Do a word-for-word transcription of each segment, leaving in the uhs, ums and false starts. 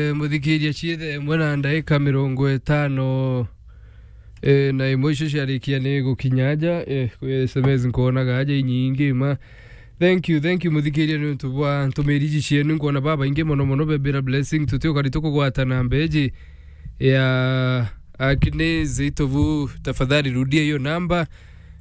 Eh, muthikiria, ciithe imwe na ndaika mirongo itano, eh, na imwe icio ciarikia ni gukinya aja, eh, kwi S M S nkoonaga aja inyingi ma. Thank you, thank you, muthikiria, ni untu bwa ntumiri iji cienu. Nkwona babaingi mono mono bebira blessing, tuti ukari tukugwata namba iji ya Agnes Itovu, tafadhali rudia hiyo namba.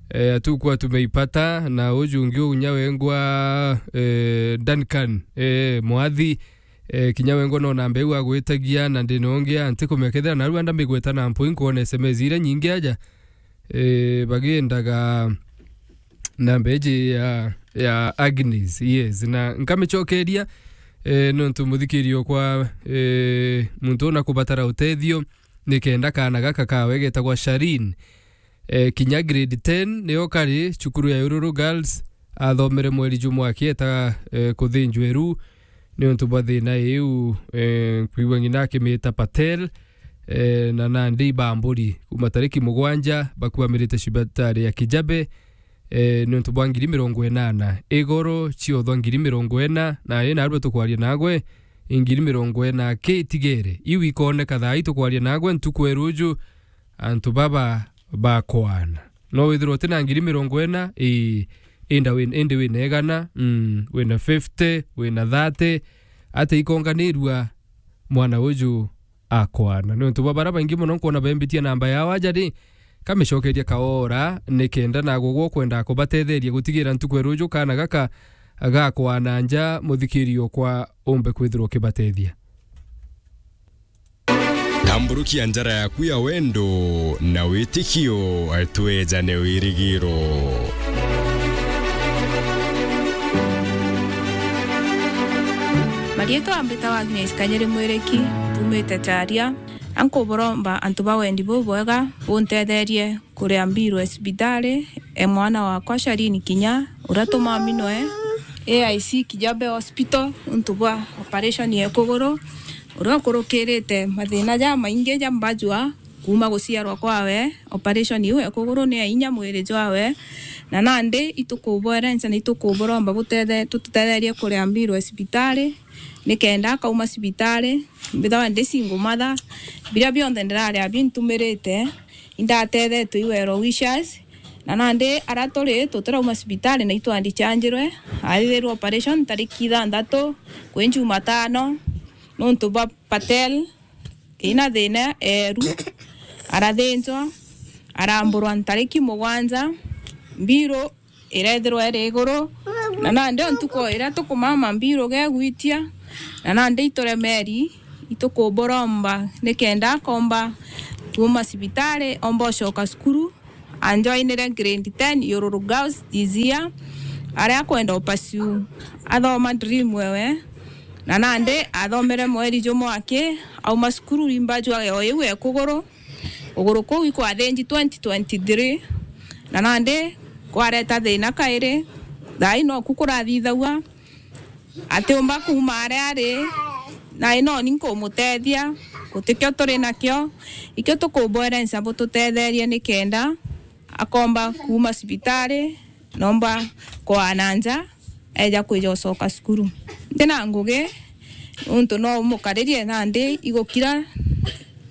Eh, hatukuwa tumeipata, na uju ungi unya wengwa, eh, Duncan, eh, Mwathi, eh, kinya wengwa no namba iu agwitagia, na ndina ungi anti kumenya kethira narua ndambigweta na mpwi, nkwona S M S iria nyingi aja, eh, bagiendaga namba iji ya, ya Agnes, yes, na nkamicokeria, eh, nontu muthikirio kwa, eh, muntu una kubatara utethio, nikenda kaana gaka kawe getagwa Sharin, eh, kinya grade ten, nio kari cukuru ya Ururu Girls, athomere mweri jumwe akieta, eh, kuthinjwa iru, ni untu bwa thina iu, eh, kwigua ng'ina akimiita Patel, eh, na nandi ibamburi kuma tariki mugwanja bakuamirite cibitari ya Kijabe, eh, ni untu bwa ngiri mirongo inana. Igoro ciothwa ngiri mirongo ina, na ina arua tukwaria nagwe, i ngiri mirongo ina ki itigere. Iu ikoneka thaa ii tukwaria nagwe, ntuku ya ruju, antu baba bakwana. No withirwa uti na ngiri mirongo ina, ii, inda win-, indi wina igana, mm, wina fifty, wina thirty, ati ikonganirua mwana uju akwana. Ni untu bwa bara baingi mono nkwona bembitie namba yao aja ri, kamicokeria kaora, nikenda nagwe gwe ukwenda kubatetheria gutigira ntuku ya ruju kaana gaka gakwana nja, muthikirio kwa umbe kwithirwa ukibatethia. Tamburukia njara yaku ya wendo na witikio, twejane wirigiro. Marietwa mbitawa Agnes Kanyeri Mwiriki, mpumite Charia. Ankuburomba antu ba wendi bubwega buntetherie kuria mbiru ya cibitari e mwana wakwa Sharini Kinya, uria tumaminwe A I C Kijabe Hospital untu bwa operation ya kuguru, uria ukurukirite mathina jamaingi ja mbajua kuuma guciarwa kwawe, operation iu ya kuguru ni ya inya mwiri jwawe, na nandi itukubwerenca na itukuburomba butethe-, tututetherie kuria mbiru ya cibitari, nikenda akauma cibitari, mbithawa ndi single mother, biria bionthe ndiraria bintumirite, indatethetwe i Well Wishers, na nandi aria turi tutirauma cibitari na itwandichanjirwe, athithirwe operation tariki ithanthatu kwi Jumatano, nontu bwa Patel ina thina eeru, arathinjwa, aramburwa ntariki mugwanja, mbiru irethirwa iri iguru, na nandi o ntuku iria tukumama mbiru gegwitia, na nandi ituremeri, itukuburomba nikenda akomba kuuma cibitari, omba ucoka cukuru, anjoinire grade ten Ururu Girls this year, aria akwenda upursue athoma dream ewe, na nandi athomere mweri jumwe aki auma cukuru, imba jwa o iu e kuguru, kuguru kuu ikwathinji twenty twenty-three, na nandi kwareta thina kairi, thaa ii noku kurathithagua, atiumba kuuma aria ari, na inoni nkumutethia, gutikio turi nakio, ikio tukubwerenca bututetherie nikenda akomba kuuma cibitari, nomba kwaa na nja, eja kwija ucoka cukuru. Ntina ngugi, nontu no umukaririe nandi igukira,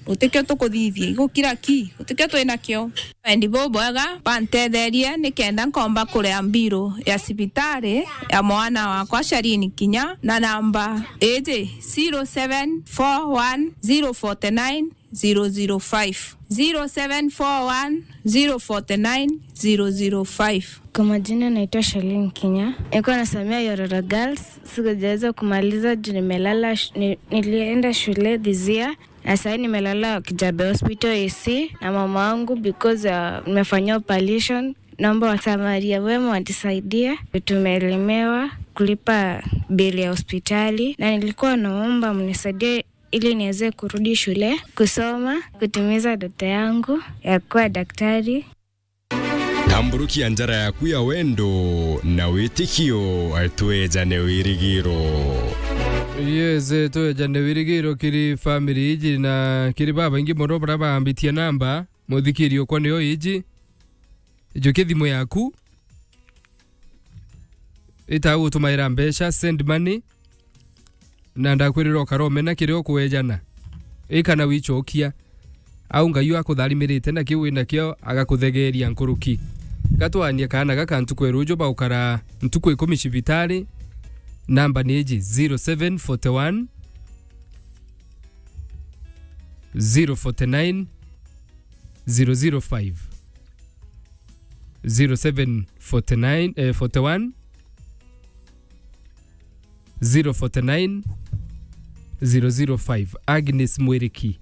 gutikio tukuthithia, igukira ki, gutikio twi nakio. Wendi bubwega, bantetherie nikenda nkomba kuria mbiru ya cibitari ya mwana wakwa Sharini Kinya na namba iji, zero seven four one zero forty nine zero zero five, zero seven four one zero forty nine zero zero five. Kwa majina naitwa Shalin Kinya. Nilikuwa nasomea Yororo Girls. Sikujaweza kumaliza juu nimelala sh-, ni-, nilienda shule this year. Na sasa nimelala Kijabe Hospital A C na mama wangu because, uh, nimefanyia operation. Naomba wasamaria wema wanisaidie. Tumelemewa kulipa bili ya hospitali. Na nilikuwa naomba mnisaidie ili niweze kurudi shule, kusoma, kutimiza ndoto yangu ya kuwa daktari. Tamburukia njara yaku ya wendo na witikio, twejane wirigiro. Yes, twejane wirigiro kiri family iji na kiri babaingi mono baria baambitie namba, muthikirio kwa nio iji. Ijukia thimu yaku. Ita gutumaira mbeca, send money. Na ndakwirira ukara umena kiria ukuejana. Ika na wichokia. Au Ngai akutharimiriite na kiu winakio agakuthegeria nkuruki. Gatwaanie kaana gaka ntuku ya ruju baukara ntuku ikumi cibitari. Namba ni iji, zero seven forty one, zero forty nine, zero zero five. Zero seven forty nine, eh, forty one, zero forty nine, zero zero five. Agnes Mwiriki.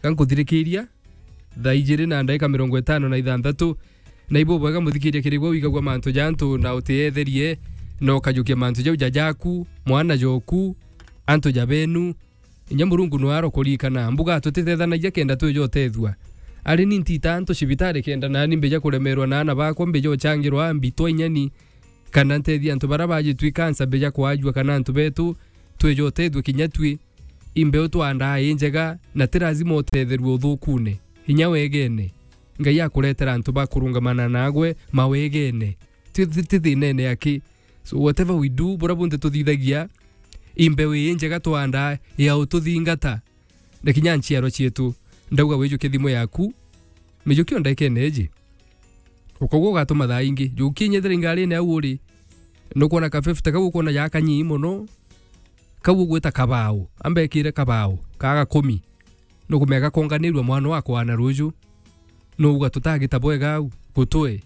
Gankuthirikiria thaa ijiri na ndagika mirongo itano na ithanthatu. Na ibu bwega muthikiria kirigwa wigagua mantu ja antu na utiyetherie, na ukajukia mantu jau ja jaku, mwana joku, antu ja benu. Inya Murungu no arokurikana. Mbuga tutitethanagia kenda twija utethua. Ari ni ntita antu cibitari kenda nani mbija kuremerwa na ana bakwa, mbija uchangirwa mbitwa inyani, kana ntethia antu bara bajitwi kansa mbija kwajua, kana antu betu twija utethua kinya twi. Imbeu twandaa i njega, na ti lazima utetherue uthukune. Inya wegene. Ngai akuretera antu ba kurungamana nagwe mawegene. Ti, ti, ti thinene aki. So whatever we do, bura bunthe tuthithagia, imbeu ii njega twandaa ya ututhingata. Na kinya nchiarwa cietu, ndauga wijukie thimu yaku, mijukie o ndagikene iji. Ukaugua ugatuma thaa ingi. Jukia inyethera ingarine au uri. Nukwona ka fifty kau ukwona ja kanyii mono, kau ugwita kabao. Ambekire kabao, ka gakumi. Nukumea gakonganirua mwana wakwa na ruju. Nuuga tutagita bwega au, gutwe.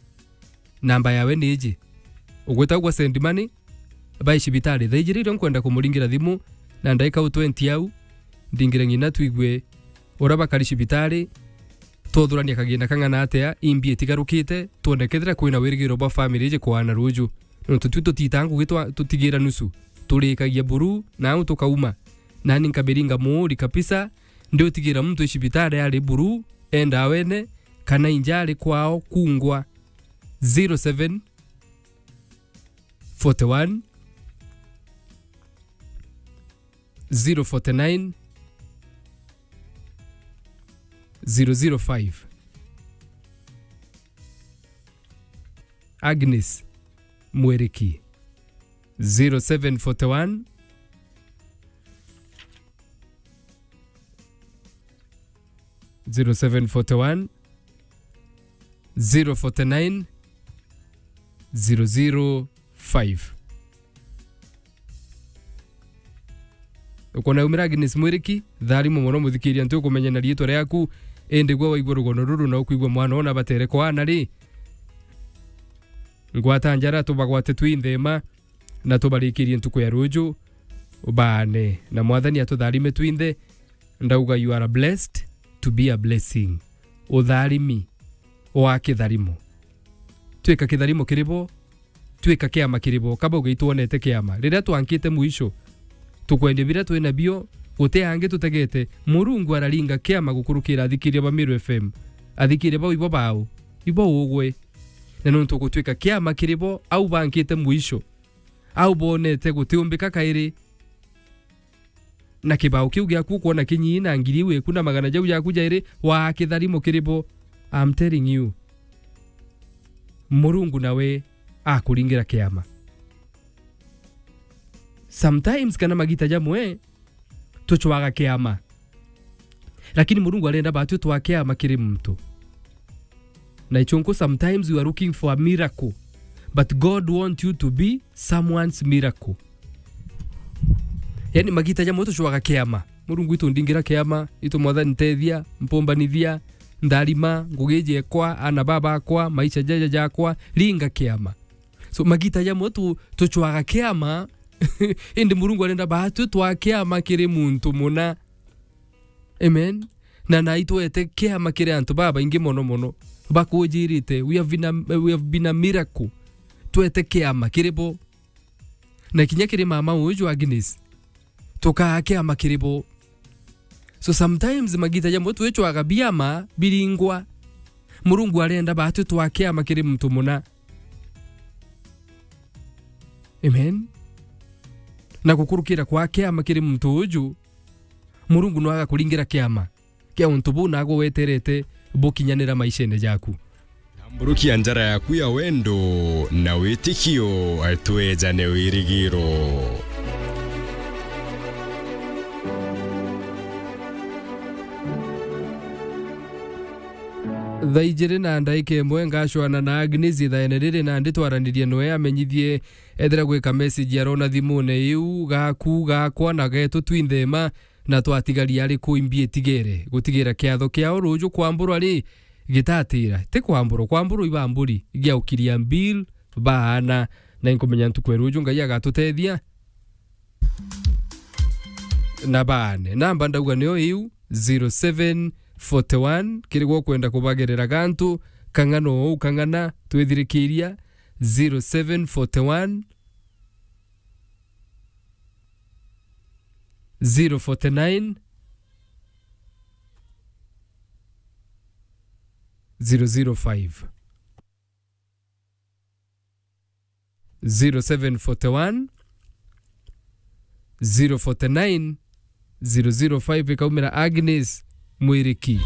Namba yawe ni iji. Ugwita ugwa send money, bai cibitari. Thaa ijiri irio nkwenda kumuringira thimu, na ndaika u twenty au, ndingire ng'ina twigue uria bakari cibitari, twuthurania kagina kang'ana atia, imbi itigarukite, twone kethira kwina wirigiro bwa family iji kwaana ruju. Nontu twi tutitaa ngugi twa-, tutigira nusu. Turikagia buru, na au tukauma. Nani nkabiringa muuri kabisa, ndiutigira muntu i cibitari ari buru, enda wene, kana inja ari kwao kungwa. Zero seven forty one, zero forty nine, zero zero five. Agnes Mwiriki, zero seven forty one, zero seven forty one, zero forty nine, zero zero five. Ukwona umira Agnes Mwiriki, tharimu mono muthikiria, nti ukumenya na riitwa riaku, indi gwe waigua rugono ruru na ukwigua mwana ona batere kwaana ri, ngwata njara tubagwate twi nthema, na tubarikirie ntuku ya ruju, baane, na Mwathani atutharime twinthe. Ndauga, you are blessed to be a blessing. Utharimi wa kitharimo. Twika kitharimo kiri bo, twika kiama kiri bo. Kaba ugai twonete kiama. Riria twankite mwisho, tukwendia biria twina bio, guti angi tutegete. Murungu araringa kiama gukurukira athikiria ba Meru F M. Athikiria bau ibo bao, ibo ugwe. Na nontu gutwika kiama kiri bo, au bankite mwisho. Au bonete gutiumbika kairi. Na kibao kiu giaku ukwona kinyii na ngiri iu iku na magana jau jaku jairi, waa kitharimo kiri bo. I'm telling you. Murungu nawe akuringira kiama. Sometimes kana magita jamwe, tuchwaga kiama. Lakini Murungu arenda batwi twa kiama kiri muntu. Na ichunku, sometimes you are looking for a miracle, but God want you to be someone's miracle. Yani, magita jamwe tuchwaga kiama. Murungu, itu ndingira kiama, itu Mwathani ntethia, mpumbanithia, ntharima, ngugi jiekwa, ana baba akwa, maisha jaja jakwa, ringa kiama. So, magita jamwe tu-, tuchwaga kiama, indi Murungu arenda batwi twa kiama kiri muntu muna. Amen. Na nai twete kiama kiri antu babaingi mono mono. Bakujirite, we have been a, we have been a miracle. Twete kiama kiri bo. Na kinya kiri mama uju Agnes. Tukaa kiama kiri bo. So sometimes magita jamwe twichwaga biama biringwa. Murungu arenda batwi twa kiama kiri muntu muna. Amen. Na gukurukira kwa kiama kiri muntu uju, Murungu no agakuringira kiama kia untu buu nagwe weterete bukinyanira maishene jaku. Mburukia njara yaku ya wendo na witikio, twejane wirigiro. Thaa ijiri na ndaika imwe ngacwana na Agnes ithaene riri, na nditwaranirie noe amenyithie ethira gwika message arona thimune iu, gaku, gakwa na getu twinthe ma, na twatigaria ari ku imbi itigere gutigira kiatho kiao ruju kwamburwa ri gitatira. Ti kwamburwa, kwamburwa ibamburi giaukiria mbil baana, na inkumenya ntuku ya ruju Ngai agatutethia na baane. Namba ndauga nio iu, zero seven forty one, kiri gwo kwenda kubagerera gantu, kang'ana ou kang'ana twithirikiria, zero seven forty one, zero forty nine, zero zero five. Zero seven forty one, zero forty nine, zero zero five, ikaumira Agnes Mwiriki.